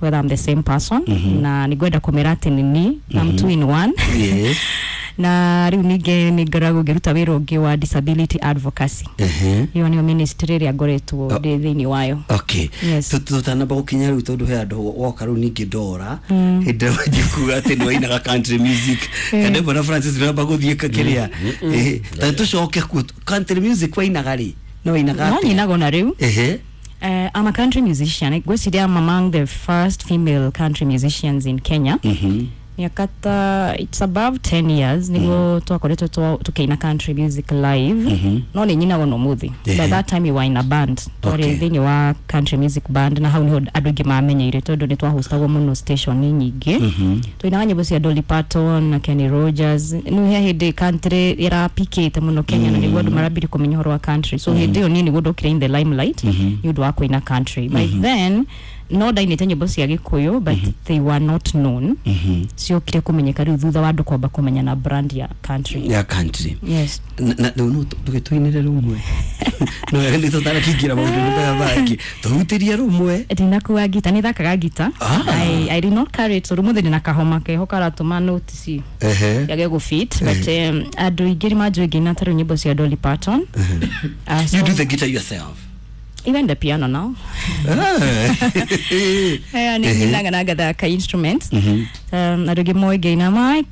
whether I'm the same person, na nĩ ngwenda kũmera atĩ nĩ niĩ. I'm two in one. Na rĩu ningĩ nĩ ngoragwo ngĩruta wĩra ũngĩ wa disability advocacy. Ĩyo nĩyo ministry ĩrĩa ngoretwo ndĩ thĩinĩ wayo. Yes. Tutanamba gukinya riu, tondu he andu woka riu ningĩ ndora hĩndĩ ĩrĩa wanjia kuga atĩ nĩ wainaga country music, kana bwana Francis namba gũthiĩ kĩrĩa. Ta tũcoke kuo, country music wainaga rĩ? No wainaga No atĩa? nyinaga ona rĩu. I'm a country musician. Ngwĩciria I'm among the first female country musicians in Kenya. Miaka ta it's above 10 years niguo twakoretwo tukiina country music live, no nĩ nyinaga no muthi. By that time we were in a band, twarĩ thĩinĩ wa country music band, na hau niho andũ aingĩ mamenyeire tondũ nĩ twahostagwo mũno station nyingĩ. Twainaga nyĩmbo cia Dolly Parton na Kenny Rogers. Nĩ he hĩndĩ country ĩrapikĩte mũno Kenya, na nĩguo andũ marambire kũmenya ũhoro wa country. So hĩndĩ ĩyo niĩ nĩguo ndokire in the limelight nĩ ũndũ wa kũina country. By then no ndainĩte nyĩmbo cia Gĩkũyũ, but they were not known. Ciokire kũmenyeka rĩu thutha wa andũ kwamba kũmenya na brand ya country. Ya country. Yes. Na rĩu no tũgĩtũinĩre rũmwe, no wega nĩ tũtanakĩingĩra maũndũ-inĩ maya mangĩ, tũhutĩrie rũmwe. Ndinakua ngita, nĩ thakaga ngita. I did not carry it tondũ mũthĩ ndĩna kahoma keho karatũma notice yage gũfit, but andũ aingĩ nĩ manjũĩ ngĩina ta rĩu nyĩmbo cia Dolly Parton. You do the guitar yourself? Even the piano now. Nĩ nyinaga na ngathaka instruments. Andũ aingĩ moĩ ngĩina Michael